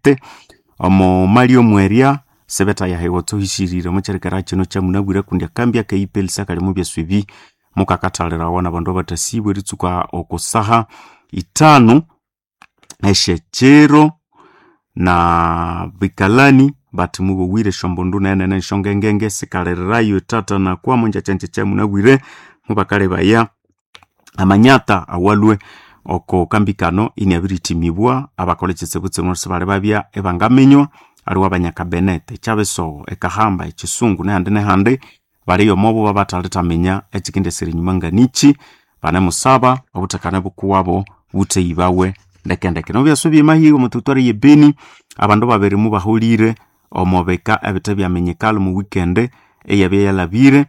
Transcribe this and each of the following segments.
Benete omo mali omwerya sebetayahewa tsohishirire omukyerikera kino kyamunabwire kundi akambi akaipelisa kali mu byaswa ebi mukakathalirawa nabandu abathasibwa eritsuka okusaha 5 esyekyiro na bikalani bathi mubowire esyombundu nenene esyongengenge sikalirirayo ethatha nakwamo njakyanjakya kyamunabwire mubakalebaya amanyata awalwe oko kambi kano iniabirithimibwa abakolha ekyitsibutsinwa sibali babya ibangaminywa aliwe abanyakabenete ekyabisogo ekahamba ekisungu nehandi nehandi baliyo omobo babathalithaminya ekikendesera enyuma nganichi banemusaba obuthekane bukuwabo butheyibawe ndekendeke nobyaswa byemahiga omuteritwari ye Beni abandu babiri mubaholire omo bika ebithe byaminyikala omu weekend eyabya yalhabire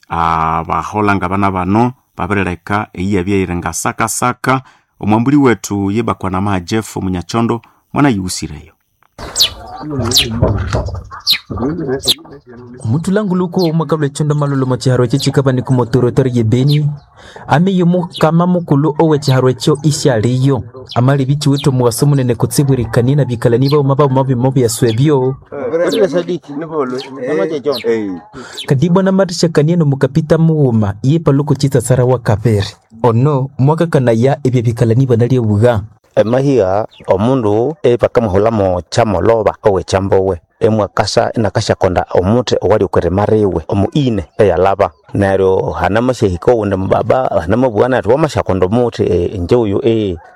abahola ngabana bano babirileka eyabya yiri ngasakasaka omwambuli wethu yebakwanamaha Jeff Omunyakyondo mwanayighusireyo. Omutulanguluko omwakalwa echondo malulu omo chiharo ekyo chikabanika omo territory ye Beni ameye omukama mukulu owe chiharo ekyo isyaliyo amalibi chiwithe omuwaso munene kutsibwirikania na bikalani baghuma baghuma bimo byaswa ebyo kadibwa namathishakania nomukapita mughuma ye paluku chitsasara wa kabiri ono mwakakanaya ebyo bikalani banalyebuga emahiga omundu ebakamuhulamo kyamoloba owekyambowe emwakasa inakasyakonda omuthi owali okwirimariwe omuine eyalaba neryo hanamasyahika owundi mubaba hanamabugha nathi wamasyakonda omuthi inje uyu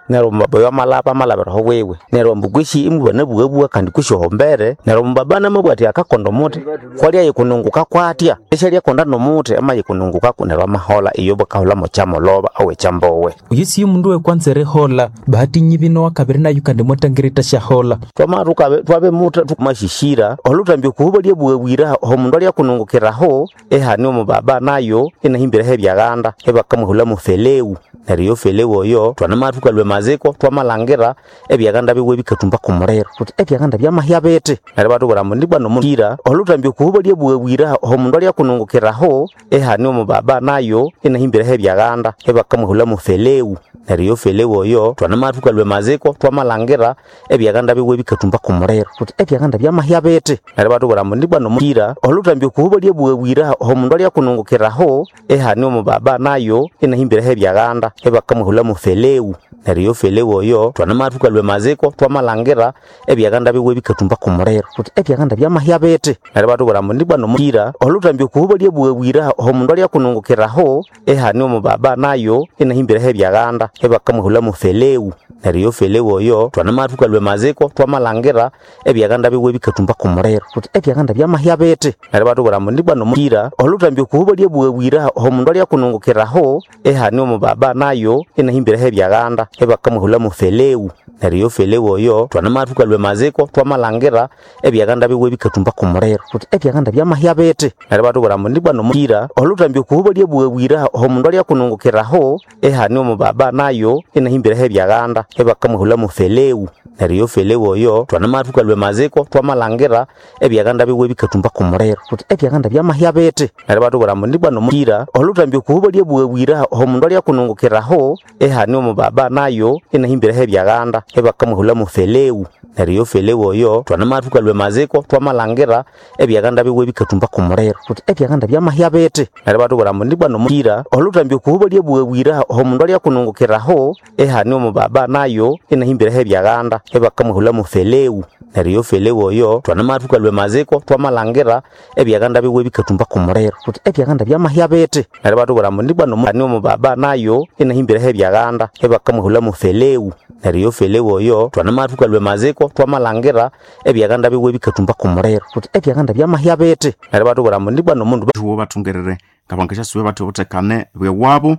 neryo omubaba oyo amalaba amalabiraho wiwe neryo ambu kwisi imubanabughabugha kandi kwisi ohombere neryo omubaba anamabugha athi akakonda omuthi kwalya yikununguka kwatya isyalyakonda nomuthi amayikunungukaku neryo amahola iyo bakahulamo kyamoloba owekyambowe oyu siyo mundu wekwanza erihola bahati nyibi nowakabiri nayu kandi mwatangirita syahola twama twabemutha tumashisira olutambya okuhuba lyabughabwira omundu alyakunungukiraho ehani omubaba nayo inahimbiraho ebyaghanda ebakamuhulamo feleu neryo iyo feleu oyo twanama thukalwa emaziko twamalhangira ebyaghanda biwe bikathumba kumuliro thuthi ebyaghanda byamahya bithi neryo batubwira ambu ndibwa nomukira olutambya okuhuba lyabughabwira omundu alyakunungukiraho ehani omubaba nayo inahimbiraho ebyaghanda ebakamuhulamo feleu neryo iyo feleu oyo twanama thukalwa emaziko twamalhangira ebyaghanda biwe bikathumba kumuliro thuthi ebyaghanda byamahya bithi neryo batubwira ambu ndibwa nomukira olutambya okuhuba lyabughabwira omundu alyakunungukiraho ehani omubaba nayo inahimbiraho ebyaghanda ebakamuhulamo feleu neryo iyo feleu oyo twanama thukalwa emaziko twamalhangira ebyaghanda biwe bikathumba kumuliro thuthi ebyaghanda byamahya bithi neryo batubwira ambu ndibwa nomukira olutambya okuhuba lyabughabwira omundu alyakunungukiraho ehani omubaba nayo inahimbiraho ebyaghanda ebakamuhulamo feleu neryo iyo feleu oyo twanama thukalwa emaziko twamalhangira ebyaghanda biwe bikathumba kumuliro thuthi ebyaghanda byamahya bithi neryo batubwira ambu ndibwa nomukira olutambya okuhuba lyabughabwira omundu alyakunungukiraho ehani omubaba nayo inahimbiraho ebyaghanda ebakamuhulamo feleu neryo iyo feleu oyo twanama thukalwa emaziko twamalhangira ebyaghanda biwe bikathumba kumuliro thuthi ebyaghanda byamahya bithi neryo batubwira ambu ndibwa nomukira olutambya okuhuba lyabughabwira omundu alyakunungukiraho ehani omubaba nayo inahimbiraho ebyaghanda ebakamuhulamo feleu neryo iyo feleu oyo twanama thukalwa emaziko twamalhangira ebyaghanda biwe bikathumba kumuliro thuthi ebyaghanda byamahya bithi neryo batubwira ambu ndibwa nomukira olutambya okuhuba lyabughabwira omundu alyakunungukiraho ehani omubaba nayo inahimbiraho ebyaghanda ebakamuhulamo feleu neryo iyo feleu oyo twanama thukalwa emaziko twamalhangira ebyaghanda biwe bikathumba kumuliro thuthi ebyaghanda byamahya bithi neryo batubwira ambu ndibwa nomukira olutambya okuhuba lyabughabwira omundu alyakunungukiraho ehani omubaba nayo inahimbiraho ebyaghanda ebakamuhulamo feleu neryo iyo feleu oyo twanama thukalwa emaziko twamalhangira ebyaghanda biwe bikathumba kumuliro thuthi ebyaghanda byamahya bithi neryo batubwira ambu ndibwa nomani omubaba nayo inahimbiraho ebyaghanda ebakamuhulamo feleu neryo iyo feleu oyo twanama thukalwa emaziko twamalhangira ebyaghanda biwe bikathumba kumuliro thuthi ebyaghanda byamahya bithi neryo batubwira ambu ndibwa nomundu thuwo bathungerere ngabangasyasuba bathi obuthekane bwewabo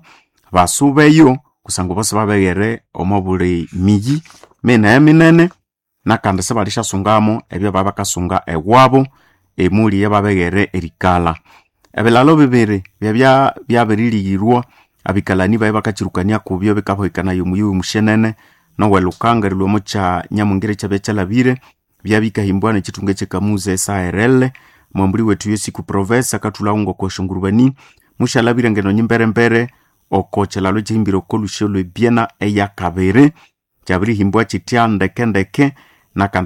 basubeyo kusangwa bose babeghere omo buli miyi minene minene nakandi sibalishyasungamo ebyo babakasunga ewabo emuli yababeghere erikalha ebilalo bibiri byabya byabirilighirwa abikalani baye bakakyirukania kubyo bikabohekana omuyi omushenene nowelukanga erilhwa kya nyamungire ekyabya kyalhabire byabikahimbwa nekyithunga ekyekamuza SARL mwambuli wethu yesiku province akathulhawo ngoko esyongurubani mushalhabire ngeno nyimberembere oko kyilalo ekyihimbire oko lusyo lwebyena eyakabiri kyabirihimbwa kyitya ndekendeke nakandi.